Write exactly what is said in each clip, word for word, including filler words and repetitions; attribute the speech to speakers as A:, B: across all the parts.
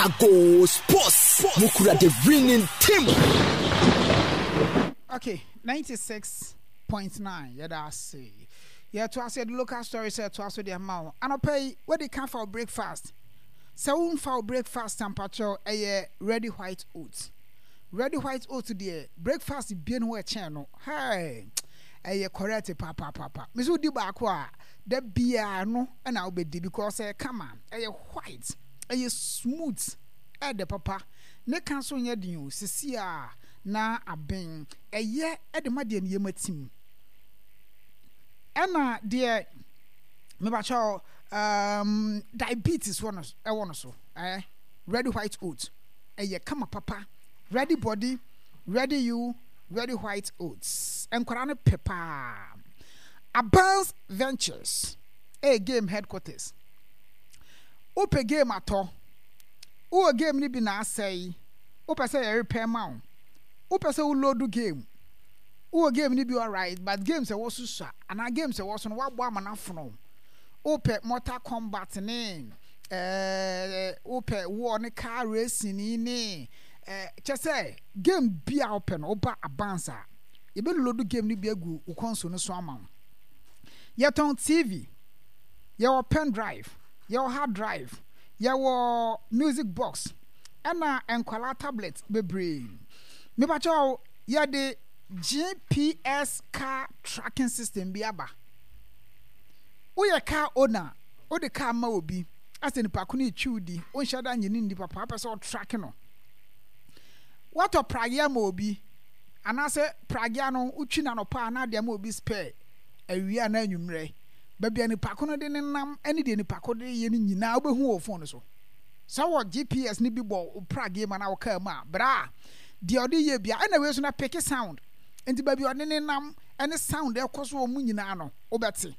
A: Ago Sports, mukura the winning team.
B: Okay, ninety-six point nine, yɛda ase. Yɛto ase, yɛde local story sɛ ɛto aso de ama wo. Anɔpa yi, wadi ka fa wo breakfast. Sɛ womfa wo breakfast ampakyɛw, ɛyɛ Ready White Oats. Ready White Oats deɛ, breakfast bie no hɔ ɛkyɛn no. Hey, ɛyɛ correct papaapapa. Mesi wodi baako a, da biara no ɛna wobɛdi because ɛyɛ kama, ɛyɛ white, ɛyɛ smooth, ɛɛdɛ papa. Ne ka nso nyɛ den o, sisi a na aben. Ɛyɛ ɛde ma deɛ ne yam atim. Ɛna deɛ mebakyɛw um, diabetes wɔ no ɛwɔ no so, eh, Ready White Oats ɛyɛ kama papa. Ready body, ready you, Ready White Oats. Nkwadaa no pɛ paa. Abans Ventures ɛyɛ game headquarters. Wopɛ game atɔ, wowɔ game no bi na asɛe, wopɛ sɛ yɛ repair ma wo, wopɛ sɛ wo load game, wowɔ game no bi alright, but games ɛwɔ so sua anaa games ɛwɔ so no woabɔ ama no afono, wopɛ Mortal Kombat ne ɛɛ wopɛ war ne car racing ne ɛɛ kyɛ sɛ game bi a wopɛ no, woba Abans a, yɛbɛ load game no bi agu wo console no so ama wo. Yɛtɔn T V, yɛwɔ pen drive, yɛwɔ hard drive, yɛwɔ music box, ɛna nkwalaa tablet bebree. Mepakyɛw, yɛde G P S car tracking system bi aba. Woyɛ car owner, wode car ma obi asɛ nipa ko no etwi wo di, wonhyɛ da nye ne ndi papa, wopɛ sɛ ɔtrack no. Watɔ pragea ma obi anaasɛ pragea no wotwi n'anɔpa anaa de ama obi spare awia anaa anwummerɛ, baabi a nipa ko no de ne nam ne deɛ nipa ko de yɛ no nyinaa wobɛhu wɔ phone no so. Sɛ wɔ G P S no bi bɔ wo pragea mu anaa wo car mu a, bra deɛ ɔde yɛ bia ɛna wei so na pick sound, nti baabi a ɔde ne nam ne sound ɛkɔ so wɔ mu nyinaa no wobɛte.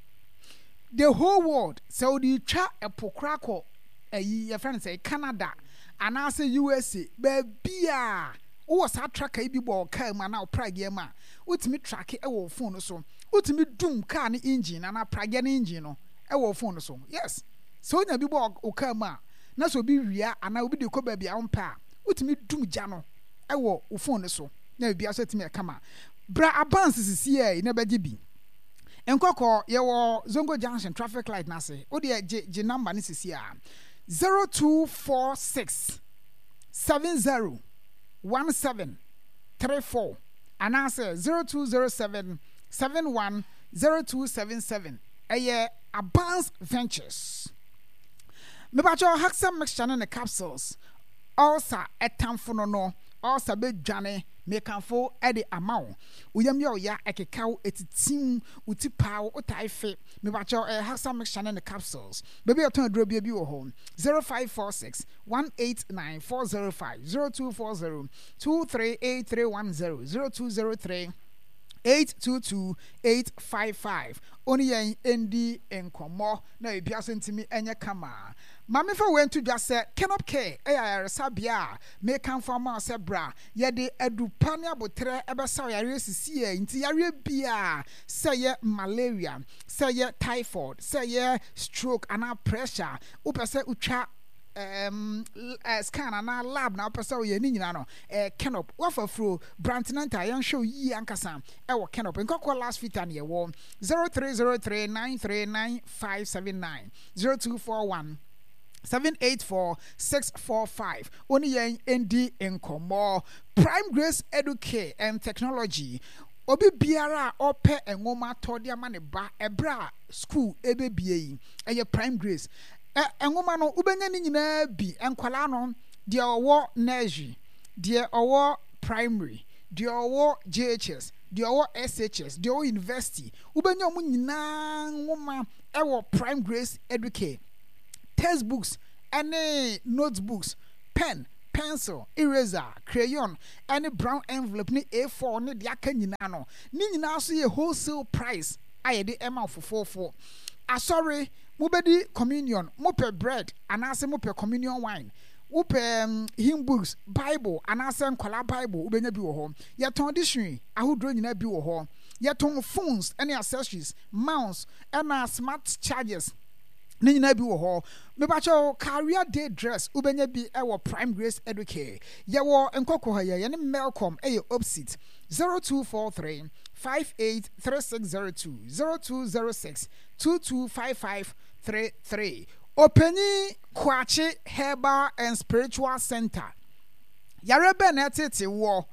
B: The whole world, sɛ wode twa ɛpo koraa kɔ ayi yɛfrɛ no sɛ Canada anaasɛ U S A, baabi a wowɔ saa tracker yi bi bɔ wo car mu anaa wo pragea mu a, wotumi track ɛwɔ wo phone no so. Wotumi dum car no engine anaa pragea no engine no ɛwɔ wo phone no so. Yes, sɛ wonya bi bɔ wo car mu a, na sɛ obi wia anaa obi de kɔ baabi a wompɛ a, wotumi dum gya no ɛwɔ wo phone no so na biribiara so atumi ɛkama. Bra Abans sisi yɛ na bɛgye bi. Nkɔkɔ, yɛwɔ Zongo Junction traffic light n'ase. Wodeɛ gye gye number no sisi a, zero two four six seven zero one seven three four anaasɛ zero two zero seven seven one zero two seven seven. Ɛyɛ Abans Ventures. Mebakyɛw, Haxa mixture ne ne capsules, ulcer ɛtamfo no no ulcer bɛdwane. Mekamfo ɛde ama wo. Woyam yɛ ɔya, ɛkekaw, ɛtitim wo ti paa, wo tae fe, mebakyɛw, ɛyɛ Haxa mixture ne ne capsules. Baabi a ɛtɔn aduro bia bi wɔ hɔ: zero five four six one eight nine four zero five, zero two four zero two three eight three one zero, zero two zero three eight two two eight five five. Oni yɛn ndi nkɔmmɔ na ebia so ntumi nyɛ kama. Maame, fa wei nto dwa sɛ Kenop Care ɛyɛ ayaresabea a mekamfo ama wo sɛ bra. Yɛde adupa ne abotrɛ ɛbɛsa wo yareɛ sisi yɛ nti yareɛ biaa, sɛ yɛ malaria, sɛ yɛ typhoid, sɛ yɛ stroke anaa pressure, wopɛ sɛ wotwa um, uh, scan anaa lab na wopɛ sɛ woyɛ ne nyinaa no, eh, Kenop wafa furo brantenanta, yɛnhwɛ wo yie ankasa ɛwɔ Kenop. Nkɔkɔ last fita ne yɛwɔ zero three zero three nine three nine five seven nine, zero two four one seven eight four six four five. Oni yɛn ndi nkɔmmɔ. Prime Grace Educare and Technology, obi biara a ɔpɛ nwoma tɔ de ama ne ba ɛberɛ a school ɛbɛbie yi, ɛyɛ Prime Grace. Ɛ nwoma no wobɛnya ne nyinaa bi. Nkwalaa no deɛ, ɔwɔ nursery, deɛ ɔwɔ primary, deɛ ɔwɔ J H S, deɛ ɔwɔ S H S, deɛ ɔwɔ university, wobɛnya wɔn nyinaa nwoma ɛwɔ Prime Grace Educare. Textbooks ɛne notebooks, pen, pencil, eraser, crayon ɛne brown envelope ne A four ne deɛ aka nyinaa no, ne nyinaa nso yɛ wholesale price a yɛde ɛma fofoofo. Asɔre mobɛdi communion, mopɛ bread anaasɛ mopɛ communion wine, wopɛ um, hymn books, Bible anaasɛ nkwadaa Bible, wobɛnya bi wɔ hɔ. Yɛtɔn dictionary ahodoɔ nyinaa bi wɔ hɔ. Yɛtɔn phones ne accessories, mouse ɛna smart chargers. Ne nyinaa bi wɔ hɔ. Mepakyɛw, career day dress, wobɛnya bi ɛwɔ Prime Grace Educare. Yɛwɔ Nkɔkɔ ha yɛ, yɛne Melcom ɛyɛ opposite. zero two four three five eight three six zero two, zero two zero six two two five five three three. Ɔpanyin Kwakye Herbal and Spiritual Center. Yare bɛn na ɛtete wɔ?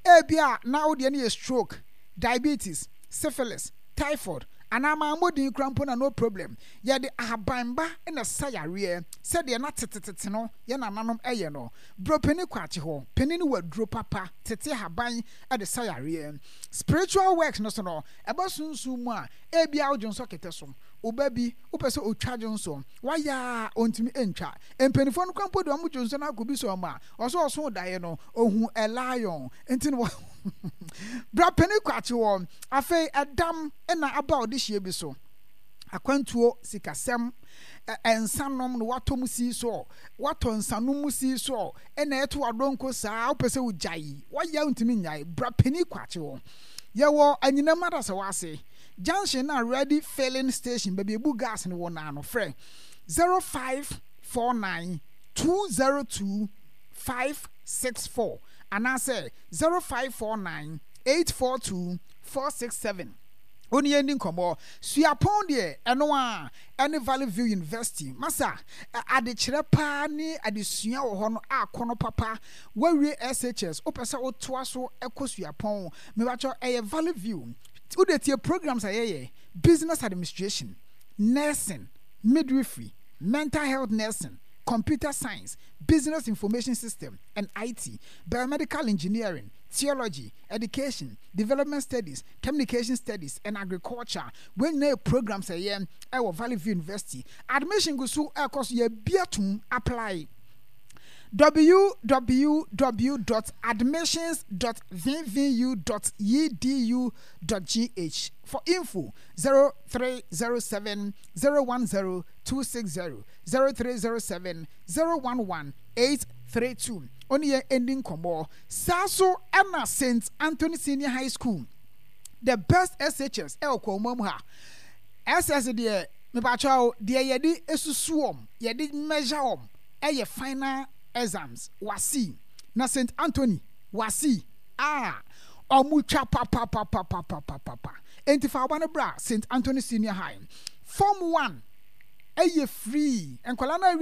B: Ebia na wodeɛ no yɛ stroke, diabetes, syphilis, typhoid anaa maamɔdin kora mpo na no problem. Yɛde ahabanba na sa yareɛ sɛdeɛ na tetetete no yɛ nananom ɛyɛ no. Buropani Kwakye hɔ panin no wɔ aduro papa, tete ahaban de sa yareɛ. Spiritual works no so no, ɛbɛ sunsun mu a, ebia wodwo nsɔ kɛtɛ so, ɔba bi wopɛ sɛ otwa dwo nso wayɛ a ɔntumi ntwa. Mpanimfoɔ no kora mpo de ɔmo dwo nso no akɔ bi sɛ ɔmo a ɔsɛ ɔso daeɛ no ohun a lion, nti no bra panin Kwakye wɔ. Afei ɛdam ɛna aba a ɔde hyia bi so akwantuo, sikasɛm, nsanom no watɔ mu sii so, watɔ nsanom mu sii so, ɛna ɛto adonko saa, wopɛ sɛ wogyae, wayɛ ntumi nyae, bra panin Kwakye wɔ. Yɛwɔ Anyinam Adasawa ase junction na Ready Filling Station, baabi ebu gas no wɔ naano. Frɛ zero five four nine two zero two five six four anaasɛ zero five four nine eight four two four six seven. Oni yɛn di nkɔmɔ. Suapɔn deɛ, ɛno a ɛne Valley View University. Masa, adekyerɛ paa ne adesua wɔ hɔ no akɔnɔ papa. Wawie S H S, wopɛ sɛ wotoa so ɛkɔ suapɔn, mebakyɛ ɛyɛ Valley View. Wode tie programs a yɛyɛ: business administration, nursing, midwifery, mental health nursing, computer science, business information system and I T, biomedical engineering, theology, education, development studies, communication studies and agriculture. Wɔn nyinaa yɛ programs a ɛyɛ ɛwɔ Valley View University. Admission gu so ɛkɔ so, yɛ bia tum apply. w w w dot admissions dot v v u dot e d u dot g h. For info, zero three zero seven zero one zero two six zero, zero three zero seven zero one one eight three two. Ɔne yɛn ɛndi nkɔmmɔ saa so. Ɛna Saint Anthony Senior High School, the best S H S ɛwɔ kɔn mu ha. S S deɛ, mepakyɛw, deɛ yɛde esusu wɔn, yɛde measure wɔn, ɛyɛ final exams WASSCE. Na Saint Anthony WASSCE a ɔmo twa papapapapapapa. Enti fa ɔba no bra Saint Anthony Senior High. Form one ɛyɛ free. Nkwadaa no